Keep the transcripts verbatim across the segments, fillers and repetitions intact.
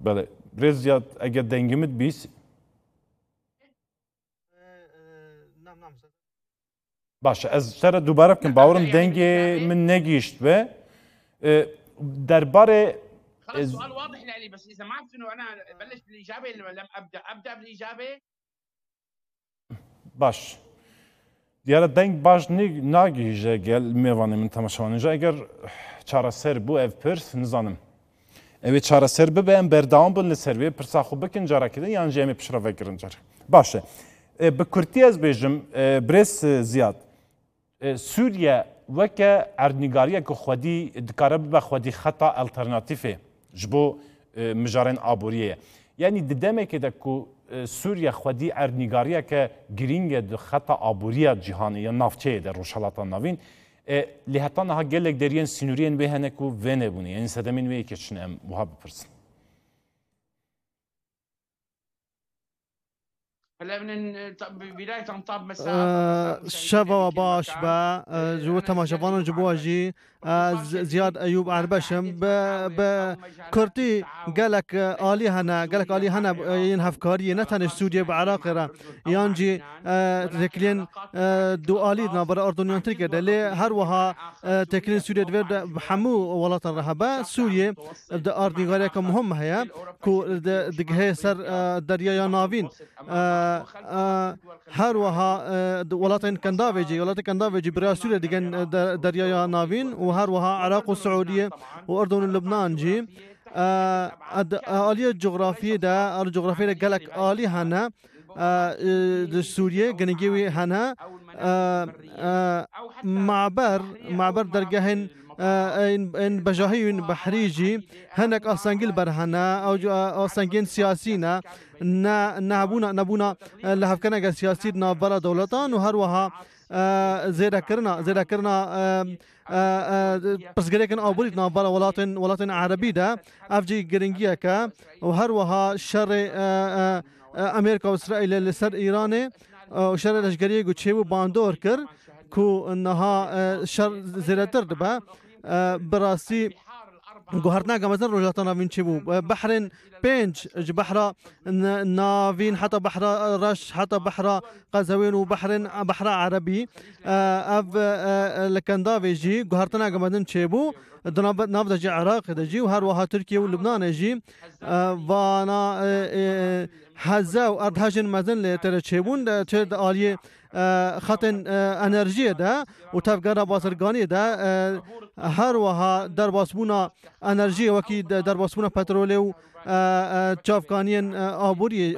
Belê. Birêz Ziyad, eger dengê min bîst. Baş e, ez ji te re dubare bikim. Bawerim dengê min negihişt be. E, derbarê خلاص، سؤال واضح لإلي، بس إذا ما في إنه أنا أبلش بالإجابة، لما لم أبدأ، أبدأ بالإجابة. Baş. Diyar e deng baş nî-, nagihîje gel mêvanê min temaşevanê. Eger çareser bû ev pirs, nizanim. Ew ê çareser bibe, em berdewam bin li ser vê pirsa xwe bikin carekê din, yan jî em ê piştre vekirin car. Baş e. E, bi kurtî ez bêjim, e, birêz, e, Ziyad. E, Sûriye weke erdnîgariyeke xwedî dikare bibe xwedî xeta alternatîfê ji bo, e, mijarên aboriyê ye. Yanî di demekê de ku, e, Sûriye xwedî erdnîgariyeke girîng e di xeta aboriya cîhanê ya navçeyê de, Rojhelata Navîn, e, lê heta niha gelek deriyên sînoriyên wê hene ku vê nebûne. Yanî sedemên wê yekê çi ne, em wiha bipirsin. هلا من طب بداية طاب مساء. Ee, şeva we baş be, e, ji bo temaşevanan ji bo jî, e, Z-, Ziyad Eyûb Erbeş im. Bi, bi kurtî gelek, e, alî hene, gelek alî hene, e, yên hevkariyê, ne tenê Sûriyê, bi Iraqê re, yan jî, e, têkiliyên, e, dualî di navbera Erdûn yan Tirkiye de. Lê her wiha, e, têkiliyên Sûriyê divê de bi hemû welatan re hebe. Sûriyê di erdnîgariyeke muhim heye ku di-, digihê ser, e, Deryaya Navîn. E, e, her wiha, e, di welatên Kendavê jî, welatê Kendavê jî bi rêya Sûriyê digên, e, de-, Deryaya Navîn û her wiha Iraq û Siûdiyê û Urdun û Lubnan jî. E, e, di, e, aliyê cografiyê de, aliyê cografiyê de gelek alî hene. E, e, di Sûriyê, girîngî wî hene. E, e, maber, maber dergehên, e, ên, ên bejahî û ên behrî jî hinek astengî li ber hene. Ew jî, e, astengiyên siyasî ne. Ne, nehebûna, nebûna, e, lihevkirineke siyasî di navbera dewletan û her wiha, e, zêdekirina, zêdekirina, e, e, e, pirsgirêkên aborî di navbera welatên, welatên erebî de. Ev jî girîngiyek e û her wiha şerê, e, e, e, Amerîka û Îsraîlê li ser Îranê, e, û şerê leşkeriyê ku çêbû bandor kir ku niha, e, şer zêdetir dibe. E, bi rastî guhertineke mezin Rojhilata Navîn çêbû. E, behrên pênc ji behra n-, navîn heta behra reş, heta behra Qezewên û behrên, behra Erebî. E, ev, e, e, li Kendavê jî guhertineke mezin çêbû. Di nav, nav de jî Iraqê de jî û her wiha Tirkiye û Lubnanê jî, e, vana, e, e, heze û erdhejên mezin lê tê de çêbûn, de, çê di aliyê, e, xetên, e, enerjiyê de û tevgera bazirganiyê de, e, her wiha derbasbûna enerjiyê wekî de, derbasbûna petrolê û, e, e, çavkaniyên, e, aboriyê,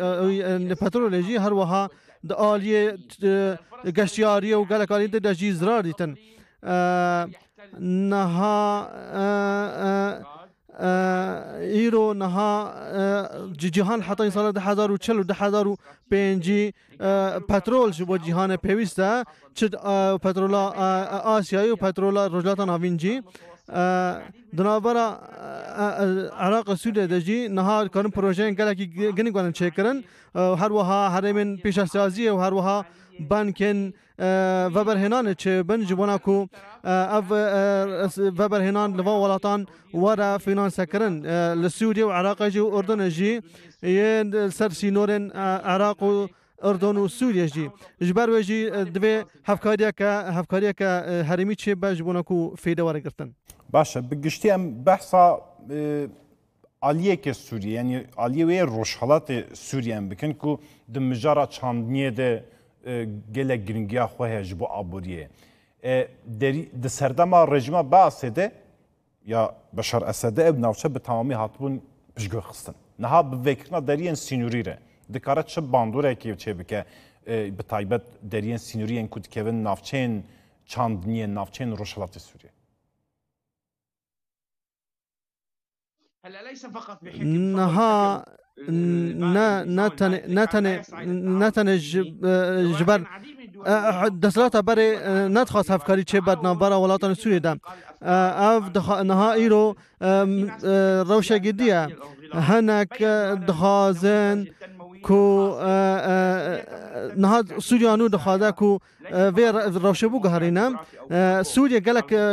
e, e, petrolê jî her wiha di aliyê, e, geştiyariyê û gelek aliyên din de jî zirar dîtin. E, niha, e, e, e, îro niha, e, ci-, cîhan heta sala du hezar û çil û du hezar û pêncî, e, petrol ji bo cîhanê pêwîst e. Çi, e, petrola, e, e, Asyayê û petrola Rojhilata Navîn jî. E, di navbera, e, e, Iraq û Sûriyê de jî niha dikarin projeyên gelekî gi-, ginik werin çêkirin. E, her wiha herêmên pêşesaziyê û her wiha bankên, e, veberhênanê çêbin ji bona ku, e, ev, e, veberhênan li van welatan were fînansekirin. E, li Sûriyê û Iraqê jî û Urdunê jî yên ser sînorên, e, Iraq û Urdun û Sûriye jî. Ji ber wê jî, e, divê hevkariyeke, hevkariyeke, e, herêmî çêbe ji bona ku fêde were girtin. Baş e, bi giştî em behsa, e, aliyeke Sûriye, yanî aliyê wê yê rojhelatê Sûriye em bikin ku di mijara çandiniyê de, e, gelek giringiya xwe heye ji bo aboriyê. E, derî, di serdema rejîma Beasê de ya Beşar Esedê ew navçe bi temamî hatibûn piştgûxistin. Niha bi vekirina deriyên sînorî re dikare çi bandorekê çêbike, e, bi taybet deriyên sînorî yên ku dikevin navçeyên çandiniyê, navçeyên Rojhilatê Sûriyê? Niha ne, ne tenê, ne tenê, ne tenê ji, e, ji ber, e, desthilata berê, e, nedixwast hevkarî çêbe di navbera welatên Sûriyê de. E, ev dixa-, niha îro, e, e, rewşekî dî ye. Hinek, e, dixwazin ku, e, e, niha Sûriya nû dixwaze ku, e, vê re-, rewşê biguherîne. E, Sûriye gelek, e,